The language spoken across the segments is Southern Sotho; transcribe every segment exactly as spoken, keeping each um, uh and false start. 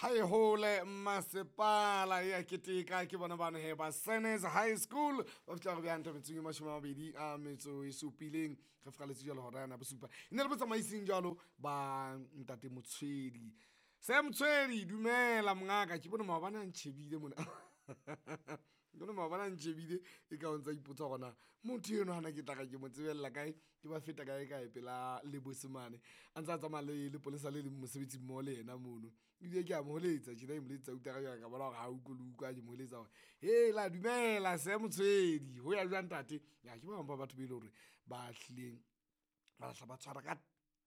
Ha e hole masepala ya keteka ke bona bana he ba Senes High School ba fihla re bjang tabetseng e mashome a mabedi a metso e supileng re fikaletse jalo hora yana bosupa e ne le botsamaising jalo ba ntate Motshwedi. Sam Motshwedi, dumela mongaka, ke bone maobane a ntjhebile mona. Ke bone maobane a ntjhebile e ka o ntsa ipotsa hore na motho eno hana ke tla ka ke mo tsebella kae, ke ba feta kae kae pela lebose mane a ntse a tsamaya le lepolesa le leng mosebetsi mmoho le yena mono. Ebile ke a mo holetsa tjena ke mo letsetsa utlwa ka bona hore ha utlwe le utlwa ke mo holetsa hore hela dumela Sam Motshwedi ho ya jwang ntate. Ya ke ba bang ba batho be le hore ba hlileng ba lahla ba tshwara ka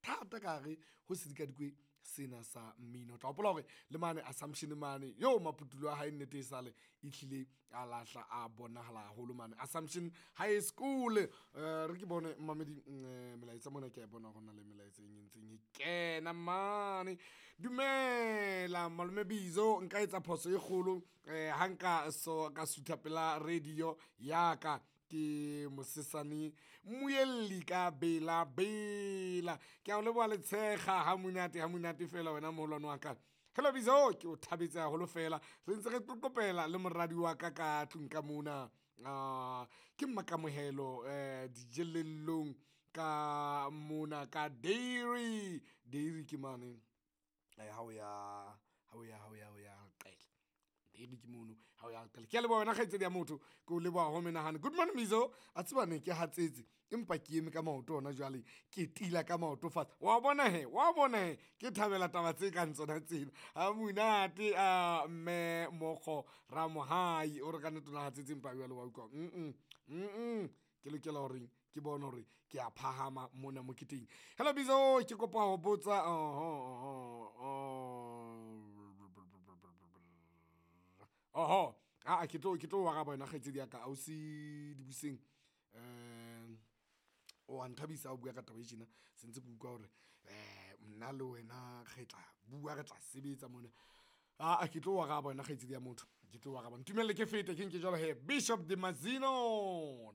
thata ka hare ho sedikadikwe sena sa mmino. O tla hopola hore le mane Assumption mane yo maputulo a hae nnete e sale e hlile a lahla a bonahala haholo mane Assumption High School. Eh re ke bone mamedi eh, melaetsa mona ke a bona hore na le melaetsa e ntseng e kena mane. Dumela malome Bizo, nka etsa phoso e kgolo eh ha nka so ka sutha pela radio ya ka ke mosesane mmuelli ka bela bela. Ke a o leboha letshega ha monate ha monate fela wena moholwane wa ka. Hello Bizo, ke o thabetse haholo fela re ntse re qoqopela le moradi wa ka ka tlung ka mona. Ah, ke mmakamohelo eh dijelellong ka mona ka dairy. Dairy ke mane eh ha o ya ha o ya ha o ya o ya qele dairy ke mono ha o ya qele. Ke a leboha wena kgaitsedi ya motho, ke o leboha ho menahane. Good morning Bizo, a tseba ne ke hatsetse empa ke eme ka maoto hona jwale, ke tila ka maoto fatshe. Wa bona he, wa bona he, ke thabela taba tse kang tsona tsena. Ha monate a mme Mokgo Ramohai o re ka nnete o na hatsetse empa jwale wa utlwa. Mm mm ke lokela hore ke bone hore ke a phahama mona moketeng. Hello Bizo, ke kopa ho botsa oho oho a ke tlo ke tlo araba wena kgaitsedi ya ka ausi Dibuseng. Eh o a nthabisa ha o bua ka taba e tjena, se ntse ke utlwa hore eh nna le wena re tla bua re tla sebetsa mona. A ke tlo araba wena kgaitsedi ya motho, ke tlo araba. Ntumelle ke fete ke nke jwalo he Bishop de Mazino.